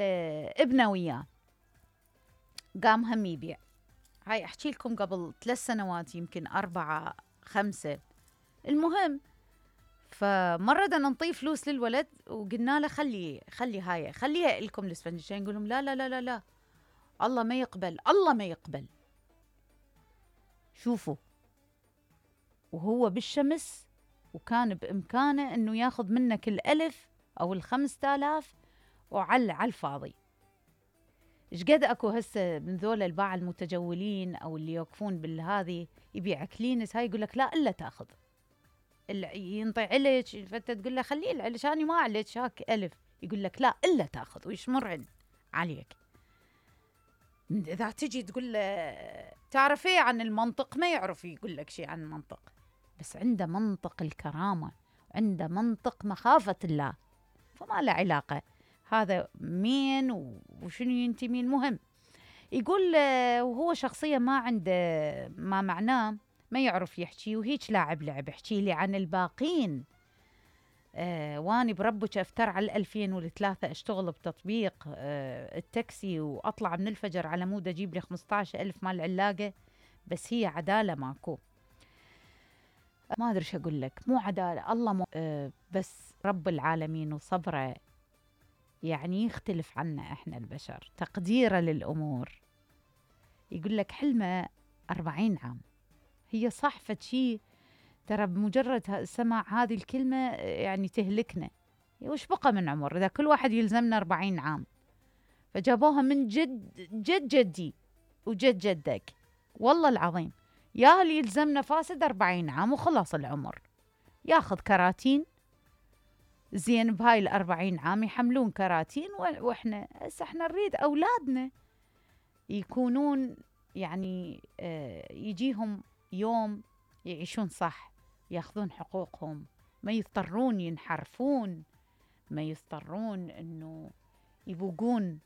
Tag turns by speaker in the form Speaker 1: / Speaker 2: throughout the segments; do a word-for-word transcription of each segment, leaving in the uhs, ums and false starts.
Speaker 1: ابنه وياه قام هم يبيع. هاي احكي لكم قبل ثلاث سنوات يمكن أربعة خمسة. المهم فمرة بدنا نعطيه فلوس للولد وقلنا له خلي خلي هاي خليها لكم الاسفنجتين. نقول لهم لا لا لا لا لا الله ما يقبل الله ما يقبل. شوفوا وهو بالشمس وكان بإمكانه انه ياخذ منك الألف او الخمسة آلاف وعلى على الفاضي. ايش قد اكو هسه من ذولا الباعة المتجولين او اللي يوقفون بالهذه يبيع كلينس، هاي يقول لك لا الا تاخذ، ينطي علج فانت تقول له خليه العلج انا ما علج هاك الف، يقول لك لا الا تاخذ ويشمر عليك. اذا تجي تقول له تعرف ايه عن المنطق ما يعرف يقول لك شيء عن المنطق، بس عنده منطق الكرامه، عنده منطق مخافه الله، فما له علاقه هذا مين وشنو ينتمي. المهم يقول وهو شخصية ما عنده ما معناه ما يعرف يحكي وهيك لاعب لعب. احكي لي عن الباقين. آه واني بربك افتر على الألفين والثلاثة اشتغل بتطبيق آه التاكسي واطلع من الفجر على مود اجيب لي خمسة عشر ألف مال علاقة، بس هي عدالة ماكو. ما ادري شو اقول لك، مو عدالة الله مو آه بس رب العالمين وصبره يعني يختلف عنا احنا البشر تقديره للامور. يقول لك حلمه أربعين عام، هي صح فشي ترى بمجرد سماع هذه الكلمه يعني تهلكنا. وش بقى من عمر اذا كل واحد يلزمنا أربعين عام؟ فجابوها من جد جد جدي وجد جدك والله العظيم، يا اللي يلزمنا فاسد أربعين عام وخلاص العمر، ياخذ كراتين زين بهاي الأربعين عام يحملون كراتين. وإحنا هسه إحنا نريد أولادنا يكونون يعني آه يجيهم يوم يعيشون صح، ياخذون حقوقهم، ما يضطرون ينحرفون، ما يضطرون إنه يبوقون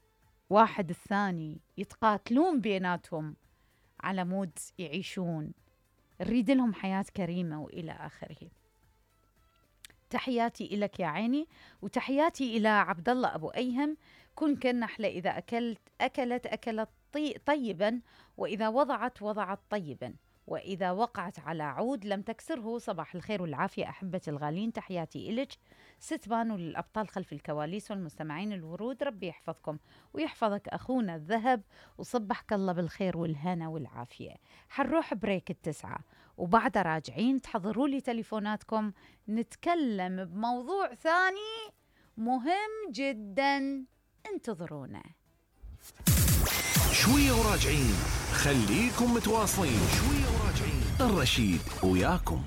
Speaker 1: واحد الثاني، يتقاتلون بيناتهم على مود يعيشون. نريد لهم حياة كريمة وإلى آخره. تحياتي إلك يا عيني، وتحياتي إلى عبد الله أبو أيهم. كن كالنحلة إذا أكلت أكلت أكلت طي طيبا، وإذا وضعت وضعت طيبا، وإذا وقعت على عود لم تكسره. صباح الخير والعافية أحبتي الغالين، تحياتي إلك. ستبان للأبطال خلف الكواليس والمستمعين الورود، ربي يحفظكم ويحفظك أخونا الذهب، وصبحك الله بالخير والهنا والعافية. حنروح بريك التسعة وبعد راجعين تحضروا لي تليفوناتكم، نتكلم بموضوع ثاني مهم جدا، انتظرونا
Speaker 2: شوية وراجعين. خليكم متواصلين، شوية وراجعين. الرشيد وياكم.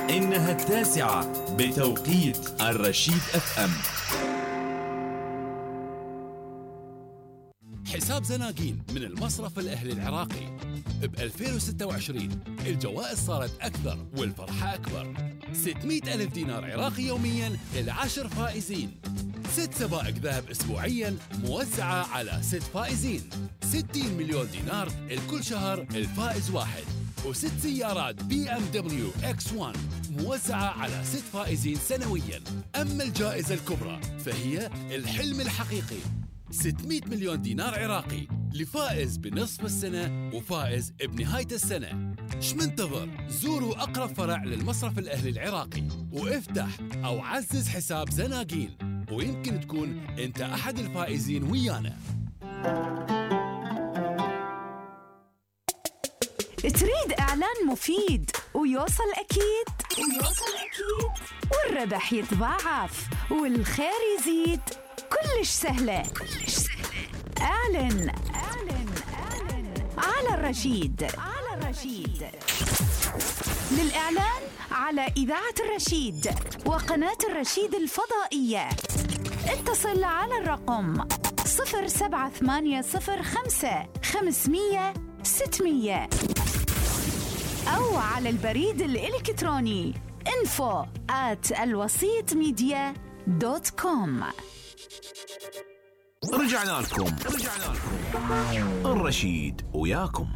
Speaker 3: إنها التاسعة بتوقيت الرشيد اف ام. حساب زناقين من المصرف الأهلي العراقي ب ألفين وستة وعشرين الجوائز صارت أكثر والفرحة أكبر. ستمئة ألف دينار عراقي يومياً للعشر فائزين، ست سبائك ذهب أسبوعياً موزعة على ست فائزين، ستين مليون دينار الكل شهر الفائز واحد، وست سيارات بي ام دبليو اكس واحد موزعة على ست فائزين سنوياً. أما الجائزة الكبرى فهي الحلم الحقيقي، ستمئة مليون دينار عراقي لفائز بنصف السنة وفائز بنهاية السنة. ايش منتظر؟ زوروا أقرب فرع للمصرف الأهلي العراقي وافتح أو عزز حساب زناقين، ويمكن تكون أنت أحد الفائزين ويانا.
Speaker 4: تريد إعلان مفيد ويوصل أكيد ويوصل أكيد والربح يتضاعف والخير يزيد؟ كلش سهلة كلش سهلة. اعلن اعلن اعلن على الرشيد على الرشيد. للإعلان على إذاعة الرشيد وقناة الرشيد الفضائية اتصل على الرقم صفر سبعة ثمانية صفر خمسة خمسمية ستمية أو على البريد الإلكتروني info at الوسيط ميديا دوت كوم.
Speaker 2: رجعنا لكم رجعنا لكم الرشيد وياكم.